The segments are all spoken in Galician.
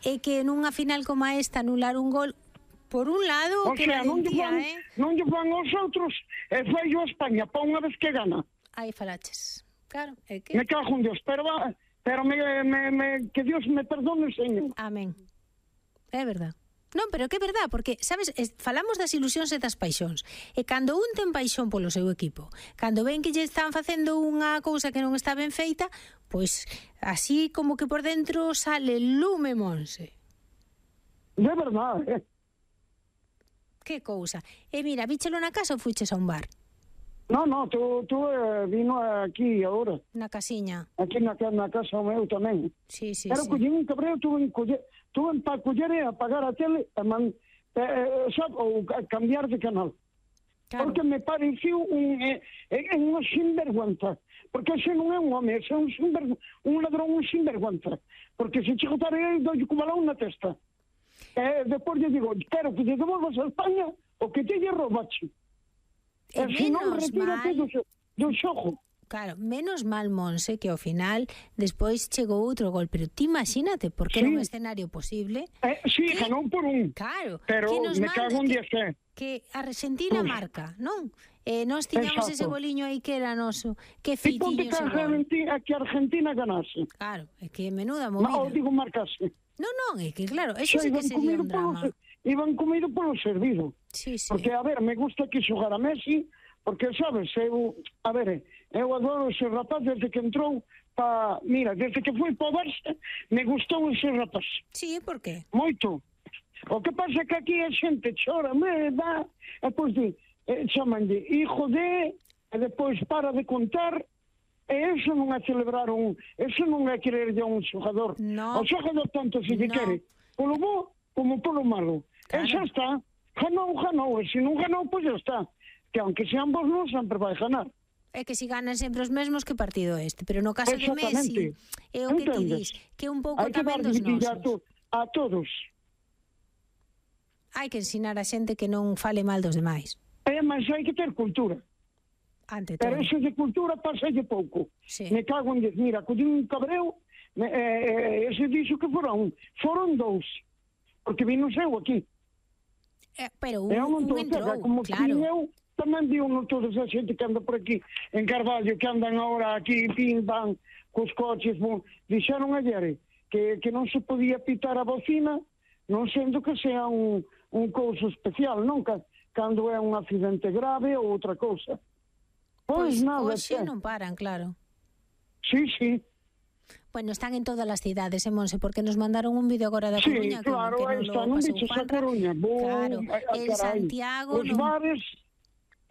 é que nunha final como esta anular un gol, por un lado, que valentía, non lle fan aos outros, e fai a España, pa unha vez que gana. Aí falaches. Claro, é que... Me cago en Dios, pero que Dios me perdone, señor. Amén. É verdad. Non, pero que é verdad, porque, sabes, falamos das ilusións e das paixóns. E cando un ten paixón polo seu equipo, cando ven que lle están facendo unha cousa que non está ben feita, pois así como que por dentro sale lume, Monse. De verdade, Que cousa. E mira, víchelo na casa ou fuiches a un bar? No, tú vino aquí agora. Na casiña. Aquí na casa meu tamén. Sí. Pero collín un cabreo, tuve para coller e apagar a tele ou cambiar de canal. Claro. Porque me pareceu unha sinvergüenza. Porque ese non é un home, ese é un ladrón, un sinvergüenza. Porque se che gotare doi co balón na testa. Depois lle digo, quero que te devolvas a España o que te lle robache. E se non, retírate do xogo. Claro, menos mal, Monse, que ao final despois chegou outro gol, pero ti imagínate, porque era un escenario posible. Sí, ganou por un. Claro. Pero me cago en 10. Que a Argentina marca, non? Nós tiñamos ese goliño aí que era noso. Que fitiño ese gol. Que Argentina ganase. Claro, é que menuda movida. Non, digo marcase. Non, é que claro, eso sí que sería un drama. Iban comido polo servido. Sí. Porque, a ver, me gusta que xogara Messi, porque, sabes, eu adoro ese rapaz desde que entrou mira, desde que foi para o Barça, me gustou ese rapaz. Sí, por qué? Moito. O que pasa é que aquí a xente chora, me dá, e pois chamanlle hijo de, e depois para de contar, e eso non é celebrar eso non é quererlle a un xogador. No. O xogador tanto se lle quere, polo bo como polo malo. Claro. E xa está. Ganou, e se non ganou, pois xa está. Que aunque sean vos non, sempre vai ganar. É que se ganan sempre os mesmos, que partido este. Pero no caso de Messi, é o que ti dis, que un pouco tamén dos nosos. A todos. Hai que ensinar a xente que non fale mal dos demais. Mas hai que ter cultura. Ante todo. Pero eso de cultura pasalle pouco. Sí. Me cago en 10. Mira, collín un cabreo, ese dixo que foron 2. Porque vino seu aquí. Pero un entrou, como claro. Eu tamén vi toda esa xente que anda por aquí en Carballo, que andan agora aquí, pim, pam, cos coches, dixeron ayer que non se podía pitar a bocina, non sendo que sea un couso especial, non? Cando é un accidente grave ou outra cousa. Pois nada. Hoxe non paran, claro. Sí. Bueno, están en todas as cidades, Monse, porque nos mandaron un vídeo agora da Coruña, claro, que non pasou Juanra. Claro, en Santiago...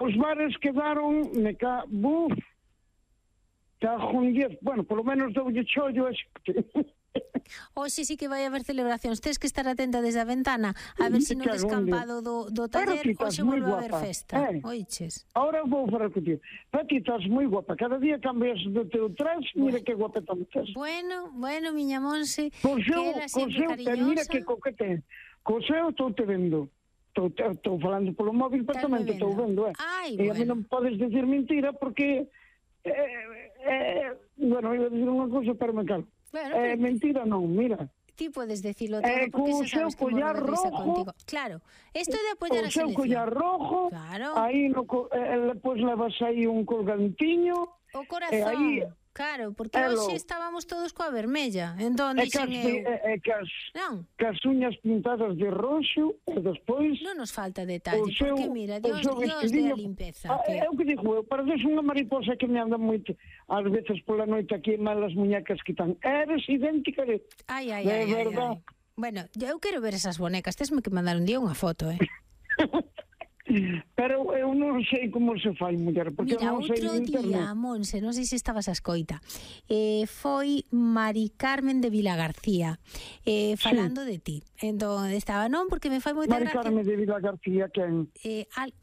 Os bares quedaron... Cajo en 10. Bueno, polo menos doulle chollo a xente. Hoxe sí que vai haber celebracións. Tens que estar atenta desde a ventana a ver se no descampado do taller hoxe volve a haber festa. Oiches. Ahora vou falar contigo. Pati, estás moi guapa. Cada día cambias do teu traje. Mira que guapeta estás. Bueno, miña Monse, que era sempre cariñosa. Mira que coquete. Co seu estou te vendo. Estou falando polo móvil, pero tamén te estou vendo. E a mí non podes decir mentira porque... bueno, iba a decir unha cosa, pero me calo. Mentira non, mira. Ti podes decirlo todo porque xa sabes que morro de risa contigo. Claro, isto de apoiar a selección. O seu collar rojo, aí depois levas aí un colgantiño. O corazón, claro, porque hoxe estábamos todos coa vermella. Entón dixen eu... Cas uñas pintadas de roxo, e despois... Non nos falta detalle, porque mira, Dios de a limpeza. É o que digo, pareces unha mariposa que me anda moito, ás veces pola noite aquí, malas muñecas que tan. Eres idéntica de... Ai. Bueno, eu quero ver esas bonecas, tesme que mandar un día unha foto, Pero eu non sei como se fai, muller, porque mira, non sei outro día, Monse, non sei se estabas a escoita, foi Mari Carmen de Vilagarcía falando de ti. Entón, estaba, non, porque me fai moita gracia. Mari Carmen de Vilagarcía, quen?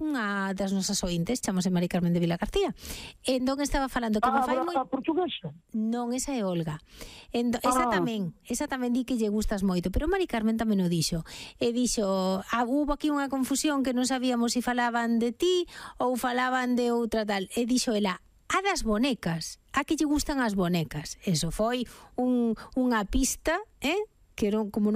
Unha das nosas ointes, chamase Mari Carmen de Vilagarcía. Entón, estaba falando que me fai moi... A portuguesa? Non, esa é Olga. Esa tamén di que lle gustas moito, pero Mari Carmen tamén o dixo. E dixo, hubo aquí unha confusión que non sabíamos se falaban de ti ou falaban de outra tal. E dixo ela, a das bonecas, a que lle gustan as bonecas. Eso foi unha pista, que non, como non